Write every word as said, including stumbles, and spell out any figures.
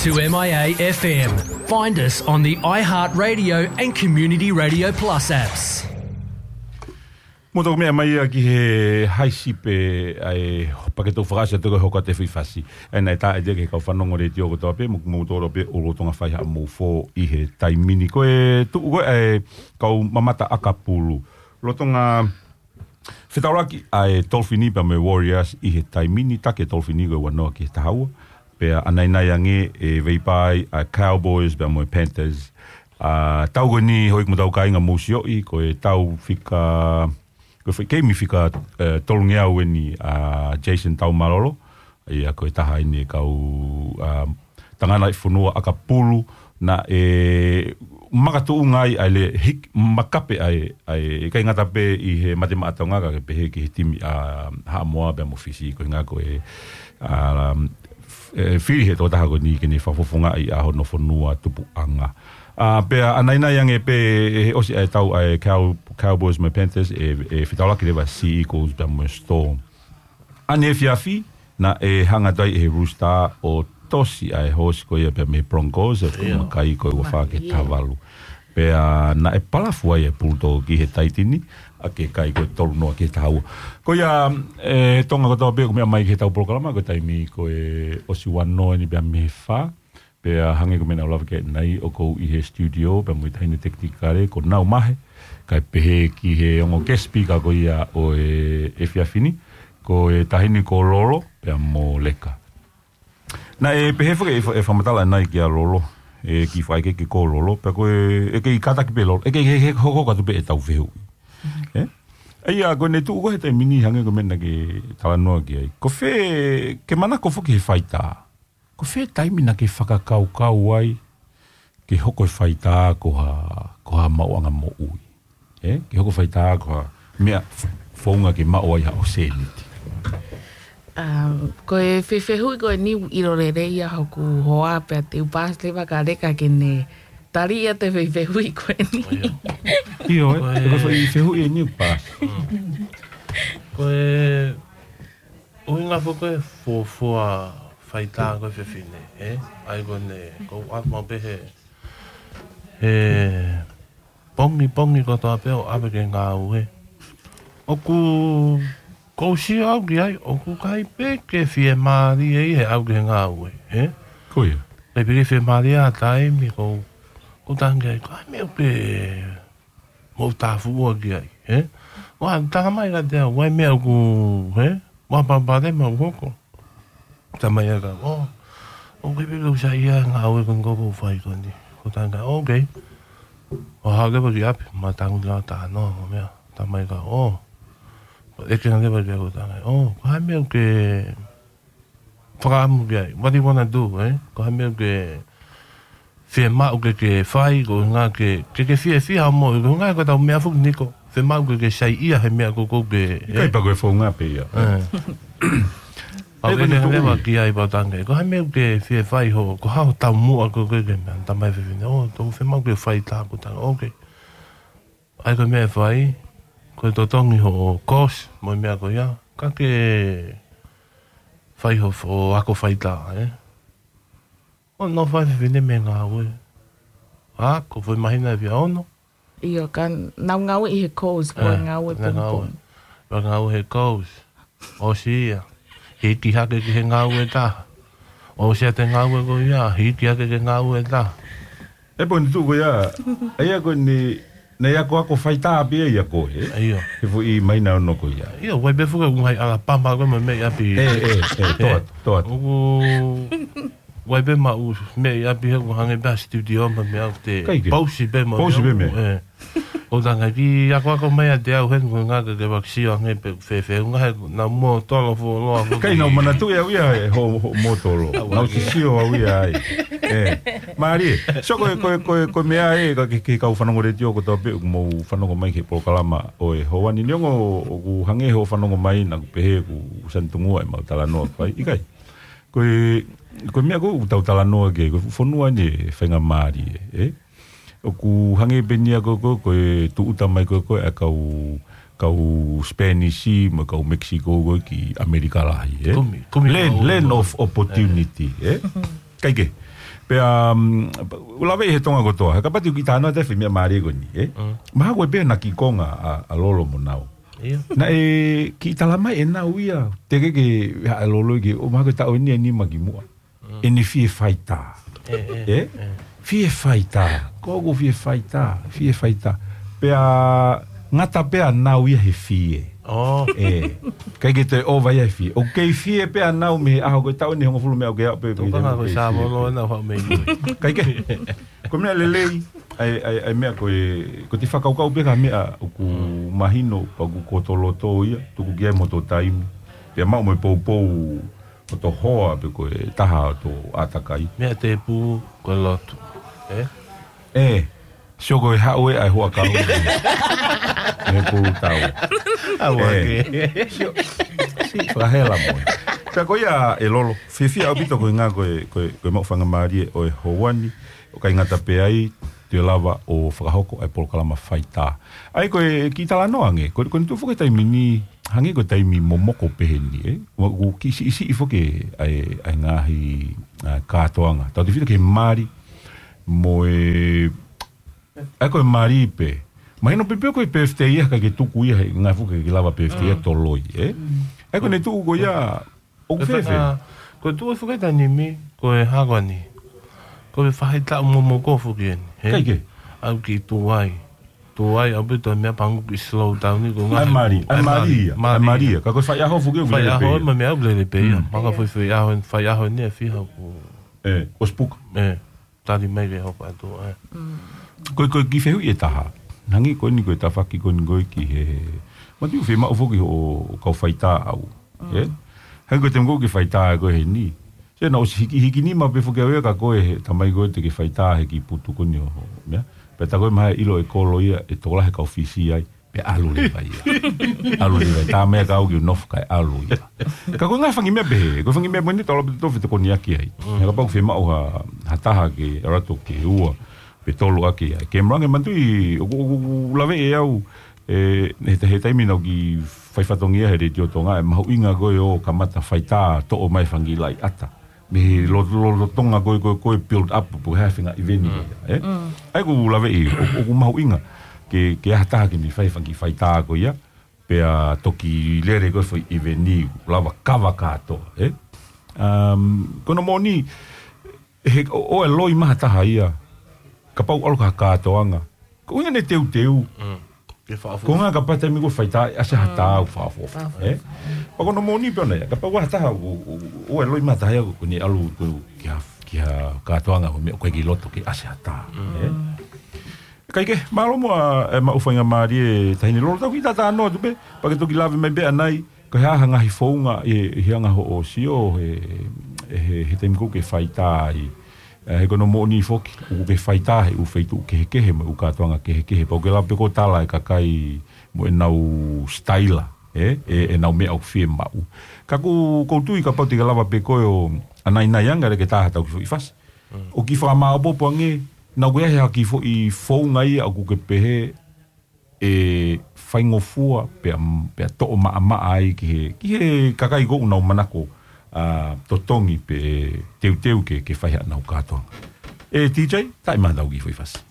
To M I A F M. Find us on the iHeartRadio and Community Radio Plus apps. Mo tau meʻa mai ia ki he haisi pē ʻa e paketo fakaʻasi atu ko e hoko atu e foʻi fasi. ʻA ia naʻe tā ʻe ia ki he kau fanongo letiō kotoa pē, mo, mo tolo pē ʻo lotonga fai haʻamou fō ʻi he taimi ni. Ko e tuʻu ko ē ʻa e kau mamata ʻakapulu. Lotonga fetaulaki ʻa e Tolfini pea mo e Warriors ʻi he taimi ni, taki e Tolfini ko e ua noa ki he taha ua. Pea ʻanainai ange e veipai ʻa e Cowboys pea mo e Panthers. ʻA, tau ko eni hoi mo tau kāinga mou sio ʻi, ko e tau fika, ko e foʻi keimi fika, eh, tolungeau eni ʻa Jason Taumalolo. ʻA ia ko e taha eni e kau, ʻa, tangata ʻi fonua ʻakapulu naʻe makatuʻunga ai ʻa e le hik-, makape ʻa e, ʻa e, ʻikai ngata pē ʻi he mate maʻa Tonga ka ke pehē ki he timi ʻa Haʻamoa pea mo Fisi ko e ngā ko e, ʻa, f-, e, fili he tokotaha ko eni ke ne fakafofongaʻi ʻa hono fonua tupuʻanga. ʻA, pea ʻanainai ange pē he ʻosi ʻa e tau ʻa e Cow-, Cowboys mo e Panthers e, e fetaulaki leva Sea Eagles pea mo e Storm. ʻAnefiafi, naʻe hanga atu ai ʻe he Rooster ʻo tosi ʻa e hosi ko ia pea mei he Broncos, ʻa e fuʻu makai ko e ua fā ki he taha valu. Pea naʻe palafu ai e Bulldog ki he Taitini, ʻa ke kai ko e tolu noa ki he taha ua. Ko ia, e Tonga kotoa pē, ʻoku meʻa mai ki he tau polokalama, ko e taimi ko e ʻosi ua noa eni pea mei he fā, pea hangē ko e meʻa naʻa ku lave ki ai ʻanenai, ʻoku ou ʻi he studio, pea mo e taʻahine tekinikale, ko Naumahe, kae pehē ki he ongo guest speaker ko ia ʻo e efiafi ni, ko e taʻahine ko Lolo, pea mo Leka. Naʻe pehē foki e fa-, e fakamatala ʻanenai kia Lolo, e kiʻi fakaʻekeʻeke ko Lolo, pea ko e, ʻe kei kātaki pē Lolo, ʻe kei he, he hoko atu pē e tau fehuʻi. ʻE? ʻA ia, ko ʻene tuʻu ko ē he taimi ni hangē ko e meʻa naʻa ke talanoa ki ai. Ko fē, ke manako foki he faitā. Ko fē taimi naʻa ke fakakaukau ai ke hoko e faitā ko ha, ko ha maʻuʻanga moʻui. ʻE? Ke hoko faitā ko ha meʻa f-, founga ke maʻu ai haʻo sēniti. ʻA, ko e fefehuʻi ko eni ʻilo lelei ia hoku hoa pea te u paasi leva kia Leka ke ne tali atu e fefehuʻi ko eni. ʻIo, ʻe? Ko e, ko e foʻi fehuʻi eni paasi. Ko e ʻuhinga foki e fuofua faitā ko e fefine, ʻe? ʻA ia ko ʻene, ko u ʻalu maʻu pē he, he pongipongi kotoa pē ʻo ʻave ki he ngāue. ʻOku, ʻoku ou sio au ki ai, ʻoku ʻikai pē ke fiemālie ia he ʻalu ki he ngāue, ʻe? Ko ia. ʻIkai pē ke fiemālie ʻa e taimi, ko u, ko u tangi ai, ko e hā e meʻa ʻoku ke mou tāfuʻua ki ai, ʻe? ʻOua, tala mai kiate au, ʻa e meʻa ʻoku, ʻe? ʻOua, palopalema ʻoku hoko. Tala mai kiate au, ʻo, ʻoku ʻikai pē ke u saiʻia he ngāue ko eni ʻoku ou fai ko eni. Ko u tangi ai, ʻo, okay. ʻO haʻu leva ki ʻapi, ma tangi ki ai ʻo talanoa mo e meʻa. Tala mai kiate au, ʻo. ʻEke ange leva ki ai ko u tangi ai, ʻo, ko e hā e meʻa ʻoku ke fakaʻamu ki ai. What do you wanna do, ʻe? Ko e hā e meʻa ʻoku ke fiemaʻu ke ke fai, ko e ʻuhinga ke, ke ke fiefia mo, ko e ʻuhinga ko e tau meʻa foki ni ko, fiemaʻu ke ke saiʻia he meʻa ko ē ʻoku ke, ʻe? ʻIkai pē ko e founga pē ia. ʻE. Pau ke ne leva ki ai pau tangi ai. Ko e hā e meʻa ʻoku ke fie fai ho, ko e hā hoʻo taumuʻa ko ē ʻoku ke meʻa. Tala mai e fefine, ʻo, ʻoku ou fiemaʻu ke faitā ko u tangi ai. Okay. ʻA ia ko e meʻa ʻe fai, ko e totongi hoʻo course, mo e meʻa ko ia, ka ke fai hoʻo, hoʻo ako faitā, ʻe? ʻO nofo ai e fefine mei he ngāue. ʻA, ko e foʻi māhina ʻe fiha, ono? ʻIo, ka nau ngāue ʻi he course, ko e ngāue pongipongi. Ngāue he course. ʻOsi ia. Hiki hake ki he ngāue ʻe taha. ʻOsi ʻa e ngāue ko ia, hiki hake ki he ngāue ʻe taha. ʻE pō ni tuʻu ko ia, ʻa ia ko eni, naʻe akoako faitā pē ia ko ē. ʻIo. He foʻi māhina ono ko ia. ʻIo, ʻoku ʻi ai pē foki ʻoku ʻi Alapama ko e meʻa ʻi ʻapi. ʻE, ʻe, ʻe, toa, toa. ʻOku ʻi ai pē maʻu meʻa ʻi ʻapi he ʻoku hangē pē ha studio mo e meʻa ʻoku te pausi pē mo e meʻa. Pausi pē meʻa. ʻE. ʻO tangi ai ke akoako mai ʻiate au heni ko e ʻuhinga ke ke fakasio ange pe fēfē ʻuhinga he naʻa ku mōtolo fuoloa. ʻIkai, naʻa ku manatuʻi au ia he hoʻo, hoʻo mōtolo. Naʻa ku sio au ia ai. ʻE, mālie. So ko e, ko e, ko e, ko e meʻa ē, ka ke, ke kau fanongo letiō kotoa pē, ʻoku mou fanongo mai ki he polokalama ʻo e houa ni, neongo ʻoku hangē hoʻo fanongo mai, naʻa ku pehē ʻoku sani tungua ʻemau talanoa ko ē. ʻIkai. Ko e, ko e meʻa ko ē ʻoku tau talanoa ki ai, ko e fonua ni ʻe faingamālie, ʻe? ʻOku hangē pē eni ia ko, ko, ko e tūʻuta mai ko, ko e kau, kau Spanish mo e kau Mexico ko ē ki ʻAmelika lahi, ʻe? Kumi, kumi. Land, land of opportunity, ʻe? Kae kehe. Pea, um, ʻoku lave ʻi he Tonga kotoa. He kapau te u kiʻi talanoa atu he meʻa mālie ko eni, ē? Mm. Mahalo ko e pē naʻe kiʻi konga ʻa, ʻa Lolo mo Nau. Ia. Naʻe kiʻi talamai ʻe Nau ia. Teʻeki ke, ha, Lolo ke, ʻo mahalo ko e taʻu eni ʻe nima ki muʻa. Mm. ʻEne fie faitā. Ē, ē, ē? Ē. Fie faitā. Ko ʻeku fie faitā. Fie faitā. Pea ngata pē ʻa Nau ia he fie. Oh. Ē. ʻIkai ke toe ʻova ia he fie. ʻOku kei fie pē ʻa Nau mei he ʻaho ko e taʻu eni hongofulu mei he ʻaho ko ē pē. Tokanga ko e sāvolo na hau mei nui. ʻIkai ke. Ko e meʻa lelei, ʻa e, ʻa e, ʻa e meʻa ko e, ko e te fakakaukau pē ki ha meʻa ʻoku mahino, pea ʻoku koto loto ia, tuku ki ai mo hoto taimi. Pea maʻu mo e poupou, hoto hoa, pe ko e taha hoto ʻātakai. Meʻa tēpū, ko e lotu. Ē? Ē, sio ko e haʻu ē ʻa e hoa kau. Mei he pulu tau. Au ē. Ake. Sio, si, fakahela mo. Pea ko ia ʻe Lolo, fiefia ʻaupito ko e ngā ko e, ko e, ko e maʻu faingamālie ʻo e houa ni, ʻo ʻikai ngata pē ai, te u lava ʻo fakahoko ʻa e polokalama faitā. ʻA ia ko e kiʻi talanoa ange, ko, ko eni tuʻu foki he taimi ni, hangē ko e taimi momoko pehē ni, ē? Ua, ʻoku kiʻi siʻisiʻi foki ʻa e, ʻa e ngaahi, ʻa, kātoanga. Tautefito ki he mali, mo e, ʻa ia ko e mali pē. Mahino pē pē ko e birthday ia, ʻikai ke tuku ia, he ngaahi fuʻu ke lava birthday ia toloi, ē? Mm. ʻA ia ko eni tuʻu ko ia, ʻoku fēfē? Ko e tuʻu foki he taimi ni, ko e hā ko eni. Ko e faʻahitaʻu momoko foki eni, hē? ʻIkai ke? ʻAu kiʻi tuai. Tuai, ʻaupito meʻa pango kiʻi slow down ni, ko e ngaahi mali, ʻa e mali ia, ʻa e mali ia. Ka ko e faiʻaho foki ʻoku lele pē ia. Faiʻaho, ma meʻa ʻoku lele pē ia. Mm. Maka foʻi faiʻaho, faiʻaho ni ʻe fiha ʻoku. Ē, ʻosi puka. Ē, tali mai ke hoko atu, ē. Mm. Ko e, ko e kiʻi fehuʻi ʻe taha. Hangē ko eni ko e tafaʻaki ko eni ko e ki he. Matu fiemaʻu foki hoʻo kau faitā ʻaʻau. Mm. Ē? Hangē ko e taimi ko ē ke faitā ko ē heni. Sio naʻa ku ʻosi hiki, hiki nima pē foki au ia ka ko e he tamai ko ē te ke faitā he kiʻi putu ko eni ʻo, meʻa. Pea tā ko e maha ʻilo ʻe Kolo ia, ʻe tokolahi e kau Fisi ai, pea ʻalu leva ia. ʻAlu leva ia, tā meʻa ka au kiʻi nofo kae ʻalu ia. Ka ko e ngaahi fanga meʻa pehē, ko e fanga meʻa pehē ni tau lava pē ʻo fetokoniʻaki ai. Mm. He kapau ʻoku fiemaʻu ha, ha taha ke ʻalu atu ke ua, pe tolu ʻaki ai. Ke malange mantui, ʻoku, ʻoku, ʻoku laveʻi ʻe au, ē, he, he taimi naʻa ku kiʻi fai fatongia he Letiō Tonga, ʻa e mahuʻinga ko ē ʻo kamata faitā toʻo mai e fanga kiʻi laʻi ʻata. Mei he lo-, lo-, lolotonga ko ē, ko ē, ko ē build up, pe ko e hā e fanga ʻiveni ko ia, ē? Mm. ʻA ia ʻoku laveʻi, ʻo, ʻoku mahuʻinga, ke, ke ʻi ai ha taha ke ne fai e fanga kiʻi faitā ko ia, pea toki lele ko ē foʻi ʻiveni, lava kava kātoa, ē? Um, ko hono moʻoni, he, ʻo, ʻoua ʻe loi mai ha taha ia, kapau ʻalu ki ha kātoanga, ko e ʻuhinga ʻene teuteu. Mm. Ke faʻafu. Ko e ʻuhinga kapau taimi ko ē faitā ʻe ʻasi ha tā ʻoku faʻafu. Faʻafu. Ē? Pea ko hono moʻoni pē ʻona ia. Kapau ʻoku ʻi ai ha taha ʻoku, ʻoku, ʻoku ʻikai loi mai ha taha ia ʻoku ne ʻalu ko ē ki ha, ki ha kātoanga ko e meʻa ʻoku ʻikai ke loto ke ʻasi ha tā. Mm. Ē? ʻIkai ke, mālō muʻa e maʻu faingamālie ʻe Taʻahine Lolo, tau kiʻi talanoa atu pē, pea ke toki lave mai pē ʻanai, ko e hā ha ngaahi founga ʻi, ʻi he anga hoʻo sio he, he, he taimi ko ē ke faitā ai. Ē, he ko hono moʻoni foki, ʻoku ke faitā he ʻū feituʻu kehekehe mo e ʻū kātoanga kehekehe. Pea ʻoku ke lava pē ʻo tala e kakai mo ʻenau sitaila, ē, ē, ʻenau meʻa ʻoku fiemaʻu. Ka ʻoku, ʻoku ou tui kapau te ke lava pē ko ē ʻo ʻanainai ange ʻa e ke taha tau kiʻi foʻi fasi. Mm. ʻO kiʻi fakamāʻopoʻopo ange, naʻa ʻoku ʻi ai ha kiʻi foʻi founga ia ʻoku ke pehē, ʻe faingofua pea, pea toʻo maʻamaʻa ai ki he, ki he kakai ko ē ʻoku nau manako, ʻa, totongi pe teuteu ke, ke fai haʻanau kātoanga. Ē, T J, taʻe maha tau kiʻi foʻi fasi.